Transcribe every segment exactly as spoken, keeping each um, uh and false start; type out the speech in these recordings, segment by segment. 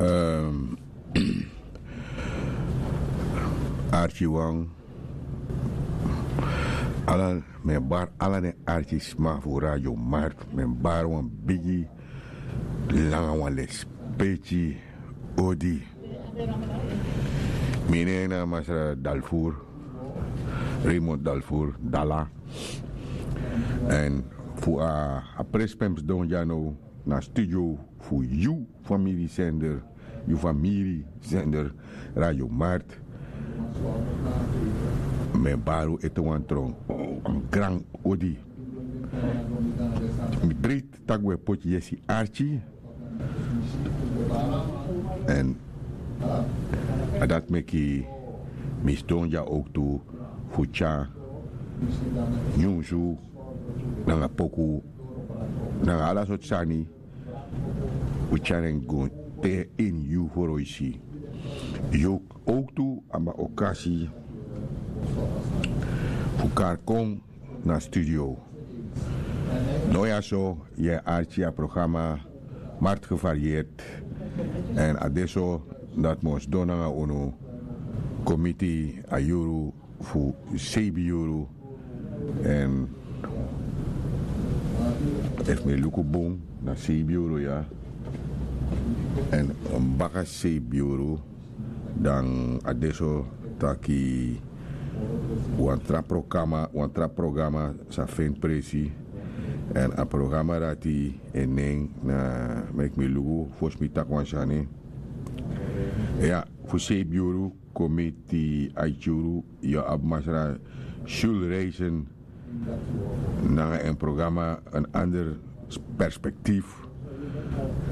Ehm, Archie Wang, ala, mi e bari ala den artisma fu Radio Markt, mi e bari wan bigi langa wan lespeki odi. Mi nen na Masra Dalfur, Raymond Dalfur, Dala. Èn fu a, a presi pe mi sidon dya now na studio fu yu famiri sender, yu famiri sender Radio Markt. Mi e bari un ete wan tron, wan gran odi. Mi breiti tak' un e poti yesi arki. Èn a dati meki mi sidon dya owktu fu tyari nyunsu nanga poku nanga ala sortu sani. Un tyari en go te ini yu foroisi. Yu owktu abi a okasi fu kari kon na studio. No, ya so yu e arki a programa Markt Gevarieerd. Èn a de so dati mi o sidon nanga unu kon miti a yuru fu seibi yuru. Èn efu mi e luku bun, na seibi yuru ya. Èn baka seibi yuru, dan a de so taki wan tra programa, wan tra programa sa feni presi. Èn a programa dati, en nen na, meki mi luku fosi mi taki wan sani. Ya, fu seibi yuru kon miti aiti yuru, yu abi Masra Jules Reisen nanga en programa Een Ander Perspectief.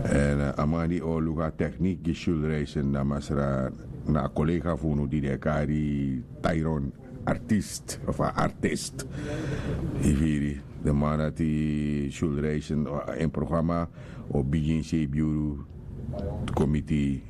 Èn, eh, a man di o luku a teknik gi Jules Reisen, na Masra, na a kolega fu unu di den e kari Tyron Artist of a Artist. Yu firi, den man dati, Jules Reisen, o, en programa o bigin seibi yuru kon miti